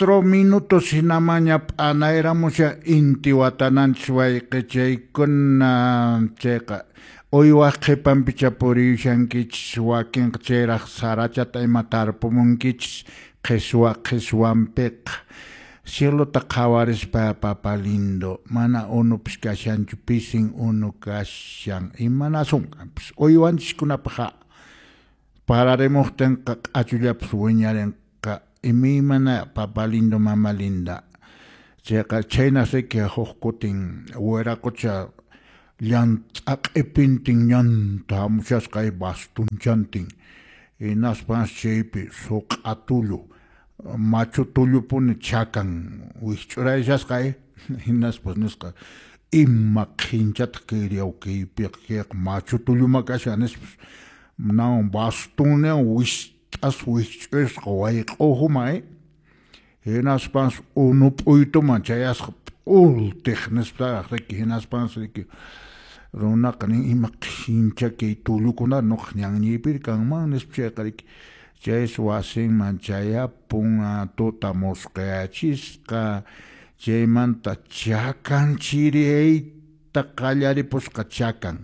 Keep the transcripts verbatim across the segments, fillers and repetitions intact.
Minutos hinamaña p'anayramushan inti watananchis wayqichaykuna chayqa uywaq qhipanpicha puriyushankichis wakinqa chayraq sarachata ima tarpumunkichis qhiswa qhiswanpiqa cielota qhawarispa papa lindo mana unupis kashanchu pisin unu kashan imanasun uywanchiskunapaq pararimuqtinqa q'achullapas wiñarinqa imaymana papa lindo mama linda chayqa chhaynas riki huk kutin wiraqucha llant'a q'ipintin ñanta hamushasqa bastunchantin hinaspas chaypi suq'a tullu machu tullupuni chakan wikch'urayshasqa hinaspas nisqa ima qhinchataq kayriyaw kaypiqa kayqa machu tulluma kashan nispas nawan bastunniwan wist'as wikch'usqa wayq'uhuman hinaspas unu p'uytuman chayasqa p'ultiq nisparaq riki hinaspas riki runaqa nin ima qhincha kay tullukuna nuqa ñanñiypiri kanman nispa chayqa riki chaysi wasinman chayapun tuta musqayachisqa chaymanta chakan chiriyayta qallaripusqa chakan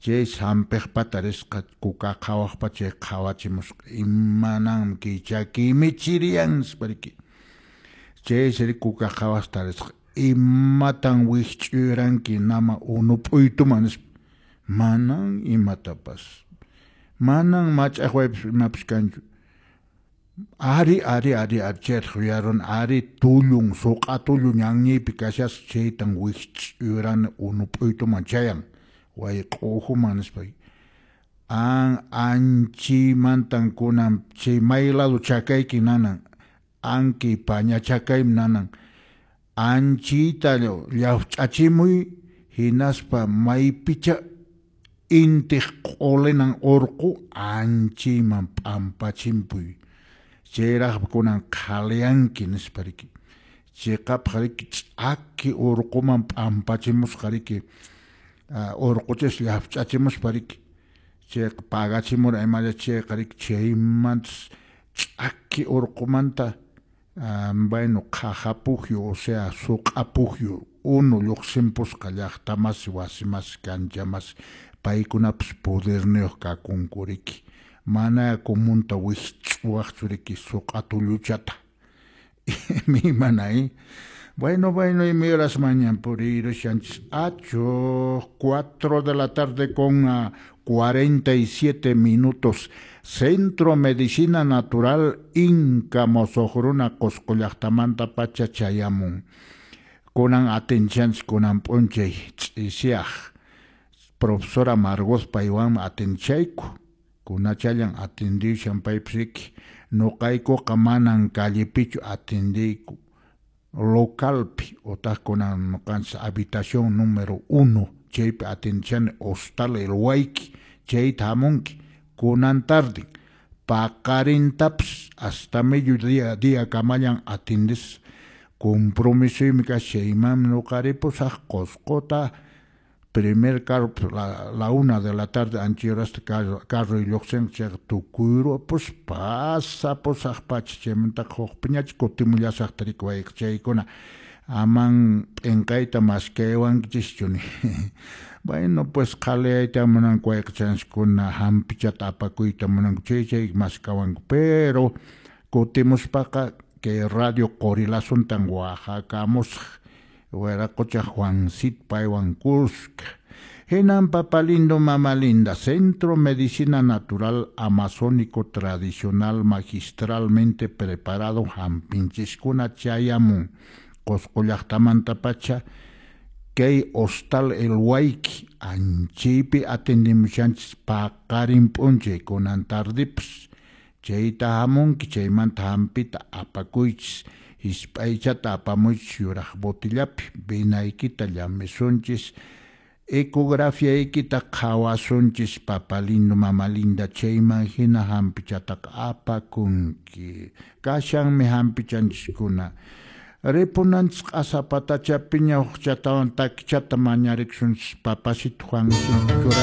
chaysi hampiqpata risqa kuka qhawaqpa chay qhawachimusqa imananmi kay chakiymi chiriyan nispa riki chaysi riki kuka qhawaqta risqa imatan wikch'uyranki nama unu p'uytuman nispa manan imatapas manan mach'aqwaypas imapas kanchu ari ari ari ari chaytaq yuyaruni ari tullun suq'a tullu ñanñiypi kashasqa chaytan wikch'uyurani unu p'uytuman chayan wayq'uhuman nispa an anchiymantan kunan chay may lado chakayki nanan anki paña chakaymi nanan anchiyta llawch'achimuy hinaspa maypicha intiq q'ulinan urqu anchiyman p'ampachimpuy chayraqmi kunan qhaliyanki nispa riki chiqapaq riki ch'aki urquman p'ampachimusqa riki urquchis llawch'achimuspa riki chayqa pagachimura imalla chayqa riki chaymantas ch'aki urqumanta bueno qhaja pukyu o sea suq'a pukyu unu lluqsimpusqa llaqtamasi wasimasi kanchamasi paykunapas poderniyuq kakunku riki mana comunta wikch'uwaqchu riki suq'a tulluchata imaymana bueno bueno y horas mañana puriyrushanchis acho cuatro de la tarde con uh, cuarenta y siete minutos Centro Medicina Natural Inca Mosoqruna Qosqo llaqtamanta pacha chayamun kunan atenchanchis kunan p'unchay ch'isiyaq profesora Margot paywanmi atenchayku kunachallan atendishan paypis riki nuqaykuqa manan callepichu atendiyku localpi otaq kunan nuqanchis habitación número uno chaypi atendishani hostal El Huayqui chayta hamunki kunan tarde paqarintapas hasta mediodía día kamallan atendis compromisoymi kashan chaymanmi nuqa ripusaq Qosqota primer carro la, la una de la tarde anchi horasta carro, carro lluqsinqa chayqa tukuyrupus pasapusaq pacha chaymantaqa hukpiñacha kutimullasaqta riki wayqichaykuna aman p'inqayta maskaywankichischu bueno pues qhaliyayta munanku wayqichanchiskuna hampichata apakuyta munanku chay chay maskawanku pero kutimuspaqa kay radio Qorilasuntan waqhakamusaq wiraqucha Juancito paywan kuska hinan papa lindo mama linda Centro Medicina Natural Amazónico Tradicional magistralmente preparado hampinchiskuna chayamun Qosqo llaqtamanta pacha kay hostal El Huayqui anchaypi atendimushanchis paqarin p'unchay kunan tardepas chayta hamunki chaymanta hampita apakuychis hisp'aychata apamuychis yuraq botillapi vinaykita llamisunchis ecografiaykita qhawasunchis papa lindo mama linda chayman hina hampichataqa apakunki kashanmi hampichanchiskuna ripunanchis q'asapatachapiña hukchatawan takichata mañarikusunchis papasito Juancito churay.